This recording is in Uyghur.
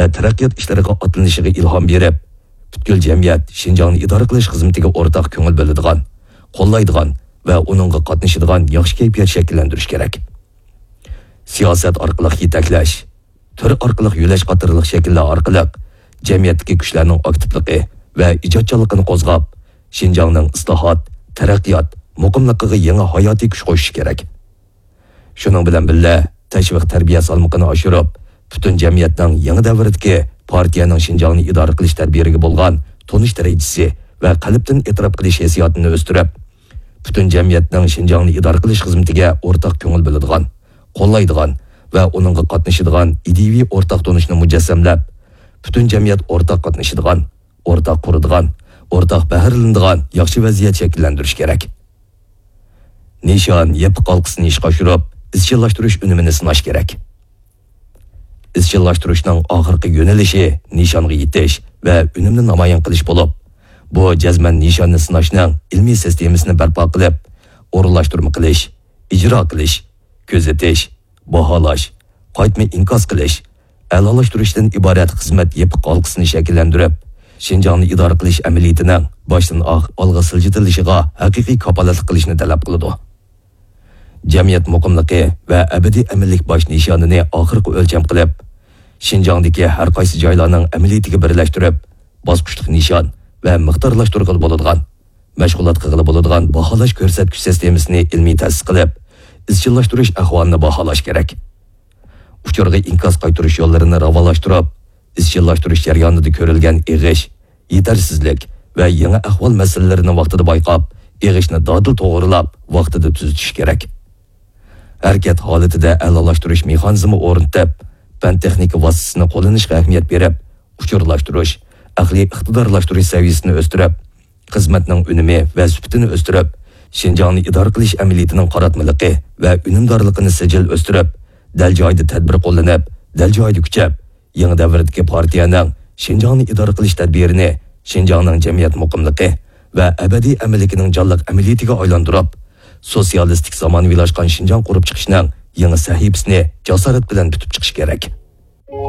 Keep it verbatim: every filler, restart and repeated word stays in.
ۋە تەرەققىيات ئىشلىرىغا ئاتلىنىشىغا ئىلھام بېرىپ، پۈتكۈل جەمئىيەت شىنجاڭنى ئىدارە قىلىش خىزمىتىگە ئورتاق كۆڭۈل بۆلىدىغان، قوللايدىغان ۋە ئۇنىڭغا قاتنىشىدىغان ياخشى كەيپىيات شەكىللەندۈرۈش كېرەك. سىياسەت ئارقىلىق يېتەكلەش، تۈر ئارقىلىق يۆلەش قاتارلىق شەكىللەر ئارقىلىق جەمئىيەتتىكى كۈچلەرنىڭ ئاكتىپلىقى ۋە ئىجادچانلىقىنى قوزغاپ، شىنجاڭنىڭ ئىسلاھات، تەرەققىيات، مۇقىملىقىغا يېڭى ھاياتىي كۈچ قوشۇشى كېرەك. شۇنىڭ بىلەن بىللە، تەشۋىق تەربىيە سالمىقىنى ئاشۇرۇپ، پۈتۈن جەمئىيەتنىڭ يېڭى دەۋردىكى پارتىيەنىڭ شىنجاڭنى ئىدارە قىلىش تەدبىرىگە بولغان تونۇش دەرىجىسى ۋە قەلبتىن ئېتىراپ قىلىش ھېسسىياتىنى ئۆستۈرۈپ، پۈتۈن جەمئىيەتنىڭ شىنجاڭنى ئىدارە قىلىش خىزمىتىگە ئورتاق كۆڭۈل بۆلىدىغان، قوللايدىغان ۋە ئۇنىڭغا قاتنىشىدىغان ئىدىيىۋى ئورتاق تونۇشنى مۇجەسسەملەپ، پۈتۈن جەمئىيەت ئورتاق قاتنىشىدىغان، ئورتاق قۇرىدىغان، ئورتاق بەھرىلىنىدىغان ياخشى ۋەزىيەت شەكىللەندۈرۈش كېرەك. نىشان يېپىق ھالقىسىنى ئىشقا ئاشۇرۇپ، ئىزچىللاشتۇرۇش ئۈنۈمىنى سىناش كېرەك. ئىزچىللاشتۇرۇشنىڭ ئاخىرقى يۆنىلىشى نىشانغا يېتىش ۋە ئۈنۈمنى نامايان قىلىش بولۇپ، بۇ جەزمەن نىشاننى سىناشنىڭ ئىلمىي سىستېمىسىنى بەرپا قىلىپ، ئورۇنلاشتۇرما قىلىش، ئىجرا قىلىش، كۆزىتىش، باھالاش، قايتما ئىنكاس قىلىش، ئەلالاشتۇرۇشتىن ئىبارەت خىزمەت يېپىق ھالقىسىنى شەكىللەندۈرۈپ، شىنجاڭنى ئىدارە قىلىش ئەمەلىيىتىنىڭ باشتىن ئاخىر ئالغا سىلجىتىلىشىغا ھەقىقىي كاپالەتلىك قىلىشنى تەلەپ قىلىدۇ. جەمئىيەت مۇقىملىقى ۋە ئەبەدىي ئەمىنلىك باش نىشانىنى ئاخىرقى ئۆلچەم قىلىپ، شىنجاڭدىكى ھەر قايسى جايلارنىڭ ئەمەلىيىتىگە بىرلەشتۈرۈپ، باسقۇچلۇق نىشان ۋە مىقدارلاشتۇرغىلى بولىدىغان، مەشغۇلات قىلغىلى بولىدىغان باھالاش كۆرسەتكۈچ سىستېمىسىنى ئىلمىي تەسىس قىلىپ، ئىزچىللاشتۇرۇش ئەھۋالىنى باھالاش كېرەك. ئۇچۇرغا ئىنكاس قايتۇرۇش يوللىرىنى راۋانلاشتۇرۇپ، ئىزچىللاشتۇرۇش جەريانىدا كۆرۈلگەن ئېغىش، يېتەرسىزلىك ۋە يېڭى ئەھۋال مەسىلىلىرىنى ۋاقتىدا بايقاپ، ئېغىشنى دادىل توغرىلاپ، ۋاقتىدا تۈزىتىش كېرەك. ھەرىكەت ھالىتىدە ئەلالاشتۇرۇش مېخانىزمى ئورنىتىپ، پەن-تېخنىكا ۋاسىتىسىنى قوللىنىشقا ئەھمىيەت بېرىپ، ئۇچۇرلاشتۇرۇش، ئەقلىي ئىقتىدارلاشتۇرۇش سەۋىيەسىنى ئۆستۈرۈپ، خىزمەتنىڭ ئۈنۈمى ۋە سۈپىتىنى ئۆستۈرۈپ، شىنجاڭنى ئىدارە قىلىش ئەمەلىيىتىنىڭ قاراتمىلىقى ۋە ئۈنۈمدارلىقىنى سىجىل ئۆستۈرۈپ، دەل جايىدا تەدبىر قوللىنىپ، دەل جايىدا كۈچەپ، يېڭى دەۋردىكى پارتىيەنىڭ شىنجاڭنى ئىدارە قىلىش تەدبىرىنى شىنجاڭنىڭ جەمئىيەت مۇقىملىقى ۋە ئەبەدىي ئەمىنلىكىنىڭ جانلىق ئەمەلىيىتىگە ئايلاندۇرۇپ، سوتسىيالىستىك زامانىۋىلاشقان شىنجاڭ قۇرۇپ چىقىشنىڭ يېڭى سەھىپىسىنى جاسارەت بىلەن پۈتۈپ چىقىش كېرەك.